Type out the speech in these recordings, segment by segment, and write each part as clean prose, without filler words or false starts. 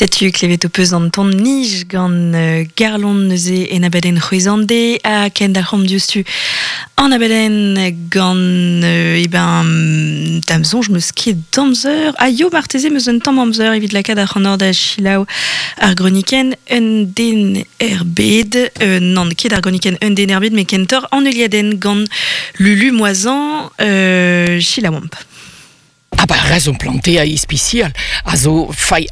Setu klevet ho peus an ton nij gant Garlon neuze en abadenn c'hwezande ha kendalc'homp diouzhtu an abadenn gant eh ben da'm soñj 'meus ket amzer. Ha yo marteze 'meus un tamm amzer evit lakaat ac'hanoc'h da selaou ar gronikenn Un den er bed. Nann ket ar gronikenn Un den er bed met kentoc'h an heuliadenn gant Lulu Moisan. Selaouomp. Ah bah raison planter ispisial a zo fai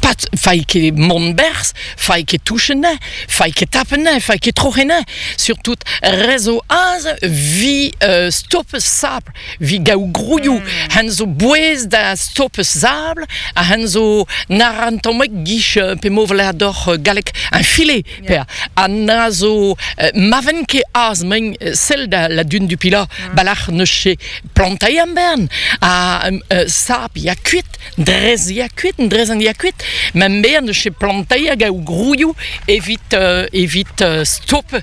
pat fai ket mont berzh, fai ket touch anezhañ, fai ket tap anezhañ, fai ket troc'h anezhañ. Surtout re zo aze vi stop sabl, vi gaou grouioù, hen zo bouez da stop sabl, ha hen zo na ran tamm gich pe mo doc'h galleg un filet per ha na zo ma ven ket az men sell da la dune du Pilat balac'h neus ket Plantaiñ am bern ha sap ya kuit, drez ya kuit, drezenn ya kuit. Ma bern eus plantaiñ hag a grouioù evit evit stop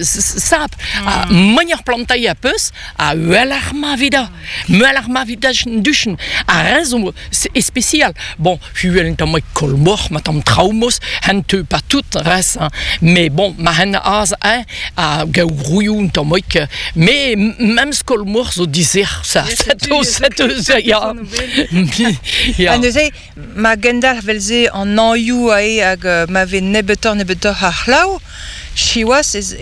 sap. Ha manier plantaiñ a peus ha uheloc'h ma vida. Muelloc'h ma vida duchen. Ha re zo spesial. Bon, huel un tamm kolmoc'h, ma tamm traoù-mos, hen teu pas tout res, hein. Mais bon, ma hen az hein, a gaou grouioù un tammig, mais même skolmoc'h zo dizer, ça, ça, ya. Ya. Ha neuze, ma gendalc'h vel-se an hañioù ae hag ma vez nebeutoc'h nebeutoc'h a c'hlav, siwazh ez